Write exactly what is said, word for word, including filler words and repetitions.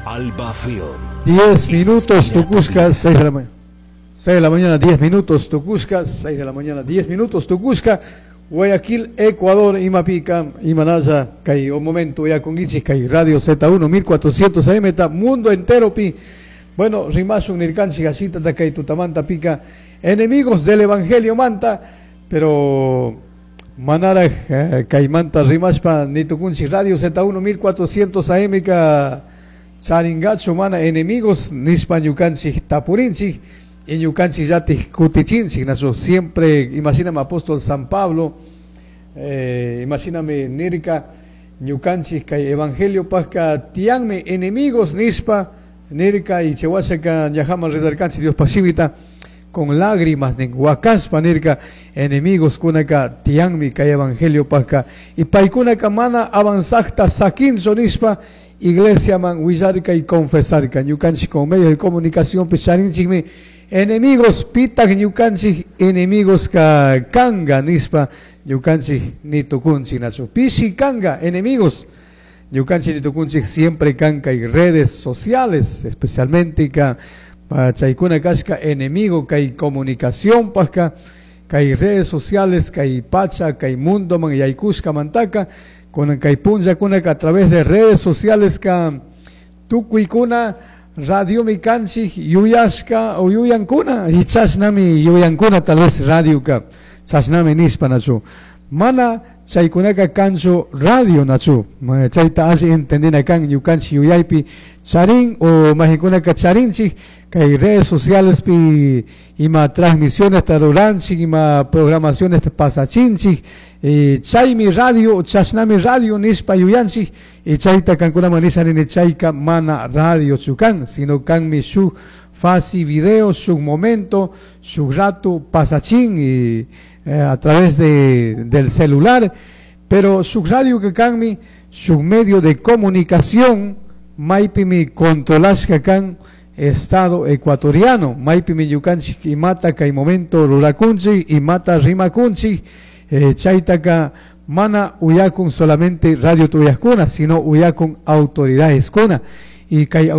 Alba Film. Diez minutos, tucushca, seis de la mañana. seis de la mañana, diez minutos, tucushca, seis de la mañana, diez minutos, tucushca. Guayaquil, Ecuador, Imapica, Imanaya, kay un momento ya con kay Radio Z uno, mil cuatrocientos A M, ta, mundo entero pi. Bueno, rimashun nirkanchik asita ta kay tutamanta pica, enemigos del Evangelio manta, pero manara eh, kaymanta rimashpa nitukunchik Radio Z uno mil cuatrocientos A M ka charingachu mana enemigos nispa ñukanchik tapurinchik y ñukanchik llatik kutichinchik nasu. Siempre imagíname apóstol San Pablo, eh, imagíname nirka ñukanchik kay evangelio pajka tianmi enemigos nispa nirka y chawashaka ñajaman rezarkanchik Dios pashimita con lágrimas nin wakashpa nirka enemigos kunaka tianmi kay evangelio pajka y paykunaka mana avanzajta sakinchu nispa iglesia man willarka y confesarka. Ñukanchik con medios de comunicación picharinchikmi enemigos. Pitak ñukanchik enemigos ka kanga nispa ñukanchik nitukunchik nachu? Pishi kanga enemigos? Ñukanchik nitukunchik siempre kanka y redes sociales especialmente ka chaykuna kashka enemigo kay comunicación pajka, kay redes sociales, kay pacha kay mundo man yaykushka mantaka kunan kay punllakunaka a través de redes sociales ka tukuykuna radiomi kanchik yuyashka o yuyankuna y chashnami yuyankuna tal vez radioka chashnami nispa nachu. Mana chaykunaka kanchu radio nachu. Chayta alli entendina kan. Ñukanchik yuyaypi charin o majikunaka charinchik kay redes sociales pi ima transmisiones ruranchik, ima programaciones pasachinchik y chaymi radio, chashnami radio nispa yuyanchik. Y chayta kankunaman nisha chayka mana radio chukan, sino kanmi shuk fácil video, su momento, su rato pasachín y eh, a través de, del celular, pero su radio que kanmi su medio de comunicación maypimi controlashka kan Estado ecuatoriano, maypimi ñukanchik imata kay momento rurakunchik, imata rimakunchik, eh, chaytaka mana uyakun solamente radio tuyakuna, sino uyakun autoridades kuna y kay